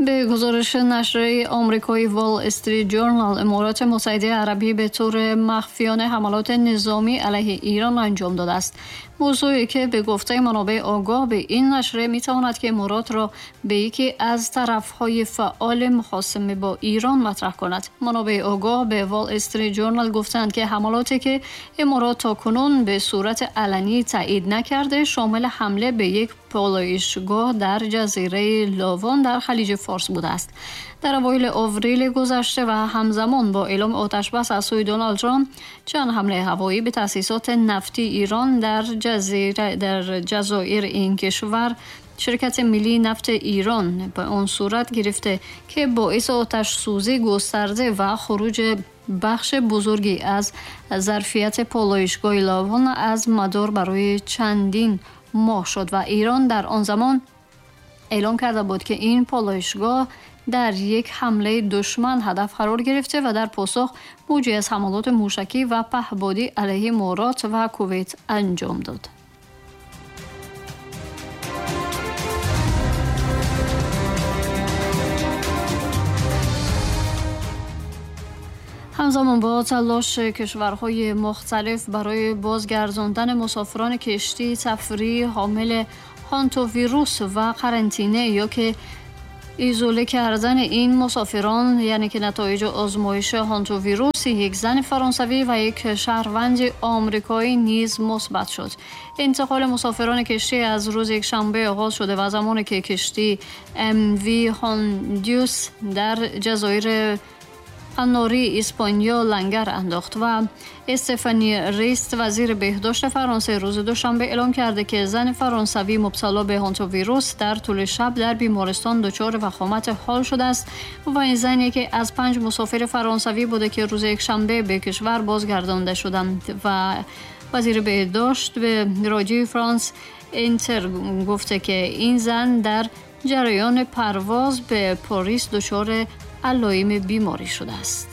به گزارش نشریه آمریکایی وال استریت جورنال، امارات متحده عربی به طور مخفیانه حملات نظامی علیه ایران انجام داده است. موضوعی که به گفته منابع آگاه به این نشریه میتواند که امارات را به یکی از طرفهای فعال مخاصمه با ایران مطرح کند. منابع آگاه به وال استریت جورنال گفتند که حملاتی که امارات تاکنون به صورت علنی تایید نکرده شامل حمله به یک پالایشگاه در جزیره لاوان در خلیج فارس بوده است. در اوایل آوریل گذشته و همزمان با اعلام آتش‌بس از سوی دونالد ترامپ، چند حمله هوایی به تأسیسات نفتی ایران در جزایر این کشور شرکت ملی نفت ایران به آن صورت گرفته که باعث آتش سوزی گسترده و خروج بخش بزرگی از ظرفیت پالایشگاه لاوان از مدار برای چندین ماه شد و ایران در آن زمان اعلام کرده بود که این پالایشگاه در یک حمله دشمن هدف قرار گرفته و در پاسخ موجی از حملات موشکی و پهپادی علیه امارات و کویت انجام داد. همزمان با تلاش کشورهای مختلف برای بازگرداندن مسافران کشتی تفریح حامل هانتاویروس و قرنطینه یا که ایزوله کردن این مسافران، یعنی که نتایج آزمایش هانتاویروس یک زن فرانسوی و یک شهروند آمریکایی نیز مثبت شد. انتقال مسافران کشتی از روز یکشنبه آغاز شده و زمانی که کشتی ام وی هاندیوس در جزایر قناری اسپانیا لنگر انداخت و استفانی ریست وزیر بهداشت فرانسه روز دوشنبه اعلام کرده که زن فرانسوی مبتلا به هانتاویروس در طول شب در بیمارستان دچار وخامت حال شده است و این زن یکی از 5 مسافر فرانسوی بوده که روز یکشنبه به کشور بازگردانده شدند و وزیر بهداشت به رادیو فرانس اینتر گفته که این زن در جریان پرواز به پاریس دچار علائم بیماری شده است.